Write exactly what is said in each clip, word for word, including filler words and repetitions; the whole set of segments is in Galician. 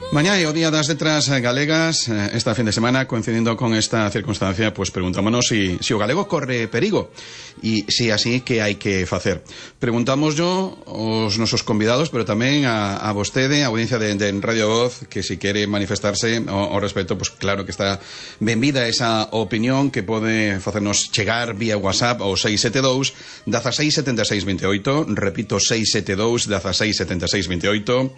Mañá é o Día das Letras Galegas. Esta fin de semana, coincidindo con esta circunstancia, pues preguntámonos si, si o galego corre perigo e se así, que hai que facer. Preguntamos yo aos nosos convidados, pero tamén a, a vostede, a audiencia de, de Radio Voz, que si quere manifestarse ao, ao respecto, pues claro que está benvida esa opinión que pode facernos chegar vía WhatsApp ao seis sete dous, dezasseis setenta e seis veintioito, repito, seis sete dous, dezasseis setenta e seis veintioito,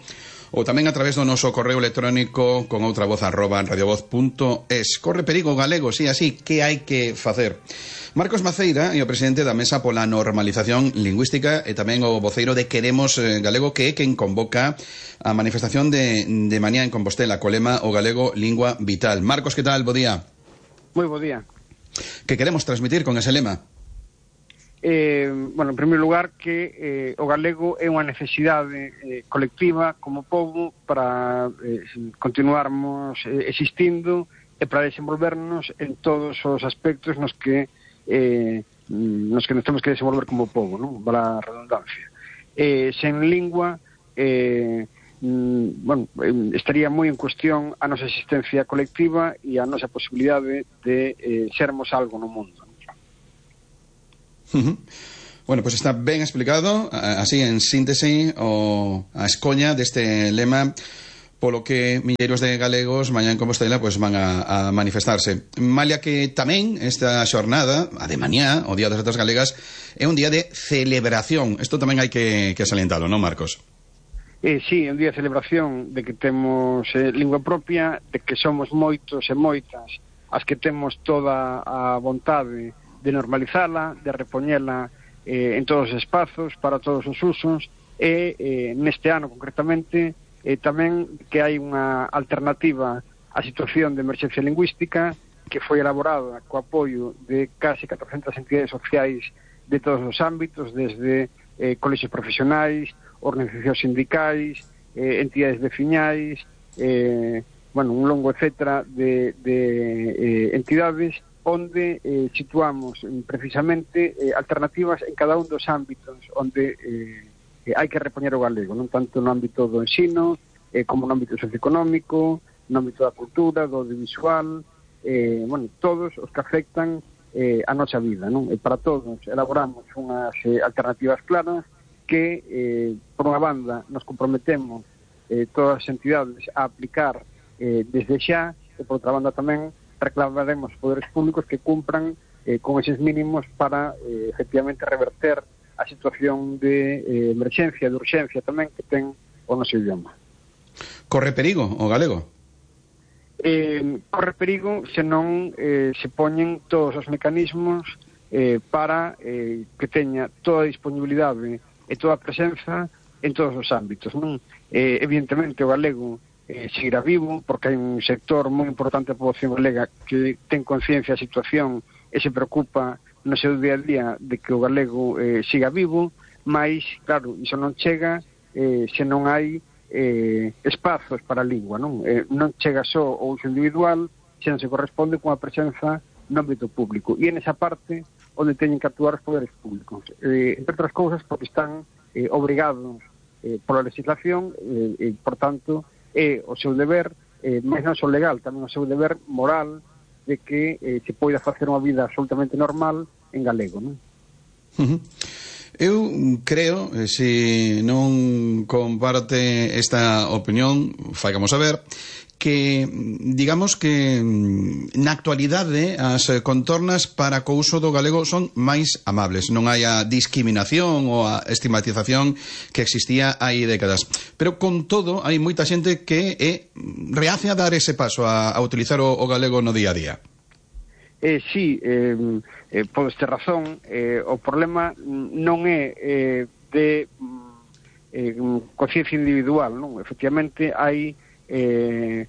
ou tamén a través do noso correo electrónico con outra voz arroba radiovoz punto es. Corre perigo galego, si así, que hai que facer? Marcos Maceira é o presidente da Mesa pola Normalización Lingüística e tamén o voceiro de Queremos Galego, que é quen convoca a manifestación de, de mañá en Compostela, co lema o galego lingua vital. Marcos, que tal? Bo día. Moi bo día. Que queremos transmitir con ese lema? Eh, bueno, en primeiro lugar, que eh, o galego é unha necesidade eh, colectiva como povo para eh, continuarmos eh, existindo e para desenvolvernos en todos os aspectos nos que eh, nos que nos temos que desenvolver como povo, non? Para a redundancia. Eh, sen lingua, eh, mm, bueno, eh, estaría moi en cuestión a nosa existencia colectiva e a nosa posibilidade de eh, sermos algo no mundo. Uh-huh. Bueno, pues está ben explicado, así en síntese, o a escoña deste lema polo que milleiros de galegos mañá en Compostela pues van a, a manifestarse. Malia que tamén esta xornada, a de mañá, o Día das Letras Galegas, é un día de celebración. Isto tamén hai que, que salientalo, non, Marcos? Eh, sí, é un día de celebración de que temos eh, lingua propia, de que somos moitos e moitas as que temos toda a vontade de normalizala, de repoñela eh, en todos os espazos, para todos os usos, e eh, neste ano concretamente eh, tamén que hai unha alternativa á situación de emerxencia lingüística que foi elaborada co apoio de case catrocentas entidades sociais de todos os ámbitos, desde eh, colexios profesionais, organizacións sindicais, eh, entidades veciñais, eh, bueno, un longo etcétera de, de eh, entidades onde eh, situamos eh, precisamente eh, alternativas en cada un dos ámbitos onde eh, eh, hai que repoñer o galego, non tanto no ámbito do ensino eh, como no ámbito socioeconómico, no ámbito da cultura, do audiovisual, eh, bueno, todos os que afectan eh, a nosa vida, non? E para todos elaboramos unhas eh, alternativas claras que, eh, por unha banda, nos comprometemos eh, todas as entidades a aplicar eh, desde xa, e por outra banda tamén reclamaremos poderes públicos que cumpran eh, con eses mínimos para, eh, efectivamente, reverter a situación de eh, emerxencia, de urxencia tamén que ten o noso idioma. Corre perigo o galego? Eh, corre perigo se non eh, se poñen todos os mecanismos eh, para eh, que teña toda a disponibilidade e toda a presenza en todos os ámbitos, non? Eh, evidentemente o galego Eh, seguirá vivo, porque hai un sector moi importante da poboación galega que ten conciencia da situación e se preocupa no seu día a día de que o galego eh, siga vivo, mas, claro, iso non chega eh, se non hai eh, espazos para a lingua, non? Eh, non chega só o uso individual, se non se corresponde cunha presenza no ámbito público. E en esa parte onde teñen que actuar os poderes públicos. Eh, entre outras cousas, porque están eh, obrigados eh, pola legislación e, eh, por tanto, é o seu deber, eh, máis non só legal, tamén o seu deber moral de que eh, se poida facer unha vida absolutamente normal en galego, non? Uh-huh. Eu creo, eh, se non comparte esta opinión, faigamos saber, que, digamos que na actualidade as contornas para co uso do galego son máis amables, non hai a discriminación ou a estigmatización que existía hai décadas, pero con todo hai moita xente que é reace a dar ese paso a, a utilizar o, o galego no día a día. Eh, sí, eh, eh, podes ter razón, eh, o problema non é eh, de eh, conciencia individual, non? Efectivamente hai eh,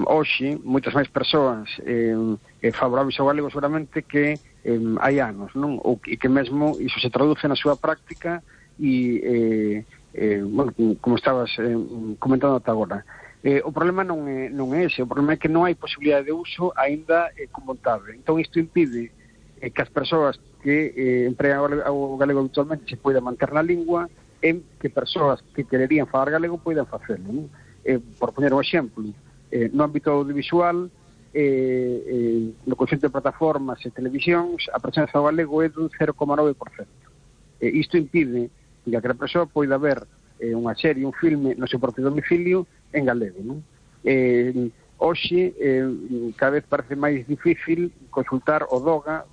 hoxe moitas máis persoas eh, eh, favorables ao galego seguramente que eh, hai anos, non? Ou que, que mesmo iso se traduce na súa práctica e eh, eh, bueno, como estabas eh, comentando ata agora. Eh, o problema non é, non é ese, o problema é que non hai posibilidade de uso aínda eh, con vontade. Entón isto impide eh, que as persoas que eh, empregan o galego habitualmente se poida manter na lingua, en que persoas que quererían falar galego poidan facelo, non? eh, por poñer un exemplo, eh, no ámbito audiovisual, eh, eh, no conxunto de plataformas e televisións, a presenza do galego é dun cero coma nove por cento. Eh, isto impide que a persoa poida ver eh, unha serie, un filme no seu propio domicilio en galego, non? Eh, hoxe, eh, cada vez parece máis difícil consultar o DOGA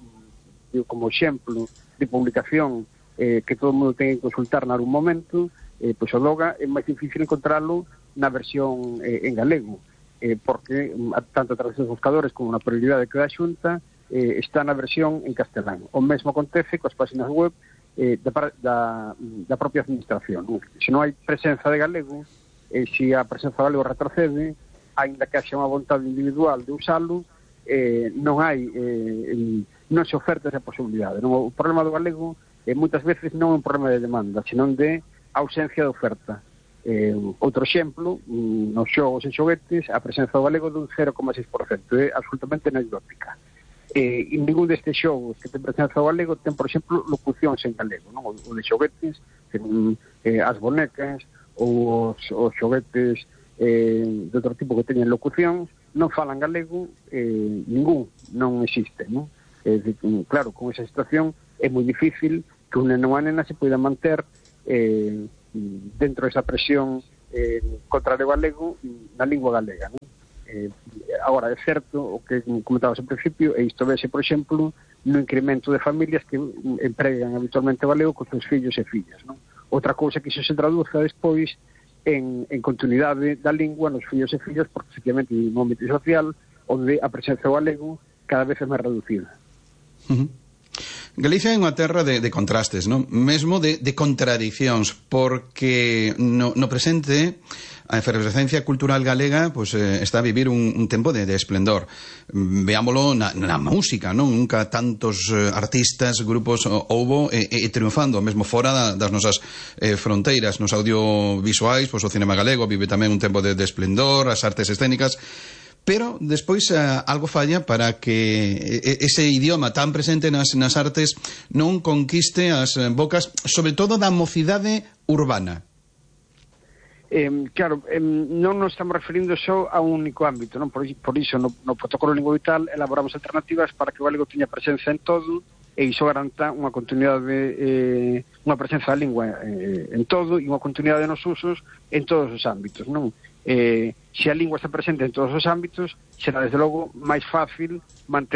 como exemplo de publicación eh, que todo o mundo ten que consultar nalgún momento. Eh, pois o DOGA é máis difícil encontrarlo na versión eh, en galego, eh, porque tanto a través dos buscadores como na prioridade que dá a Xunta eh, está na versión en castelán. O mesmo acontece coas páxinas web eh, da, da, da propia administración. Se non hai presenza de galego, eh, se a presenza de galego retrocede, aínda que haxa unha vontade individual de usalo, eh, non hai eh, non se oferta esa posibilidade. Non? O problema do galego eh, moitas veces non é un problema de demanda, senón de ausencia de oferta. Eh, outro exemplo, nos xogos e xoguetes, a presenza do galego dun cero coma seis por cento, é absolutamente anecdótica. Eh, e ningún destes xogos que ten presenza do galego ten, por exemplo, locucións en galego, non? O de xoguetes, ten, eh, as bonecas ou os, os xoguetes eh, de outro tipo que teñen locucións, non falan galego, eh, ningún, non existe, non? Eh, claro, con esa situación é moi difícil que un neno ou a nena se poida manter Eh, dentro desa presión eh, contra o galego na lingua galega, non? Eh, agora, é certo o que comentabas ao principio, e isto vese, por exemplo, no incremento de familias que empregan habitualmente o galego con seus fillos e fillas, non? Outra cousa que iso se traduza despois en, en continuidade da lingua nos fillos e fillas, porque efectivamente no ámbito social onde a presenza do galego cada vez é máis reducida. Uh-huh. Galicia é unha terra de, de contrastes, non? Mesmo de, de contradicións, porque no, no presente a efervescencia cultural galega pues, eh, está a vivir un, un tempo de, de esplendor. Veámolo na, na música, non? Nunca tantos eh, artistas, grupos houbo e, e triunfando, mesmo fora da, das nosas eh, fronteiras, nos audiovisuais, pues, o cinema galego vive tamén un tempo de, de esplendor, as artes escénicas. Pero despois uh, algo falla para que ese idioma tan presente nas, nas artes non conquiste as bocas, sobre todo da mocidade urbana. Eh, claro, eh, non nos estamos referindo só a un único ámbito, non? Por, por iso no, no protocolo lingua vital elaboramos alternativas para que o galego teña presenza en todo e iso garanta unha continuidade, eh, unha presenza da lingua eh, en todo e unha continuidade nos usos en todos os ámbitos, non? Eh, se a lingua está presente en todos os ámbitos, será desde logo máis fácil manter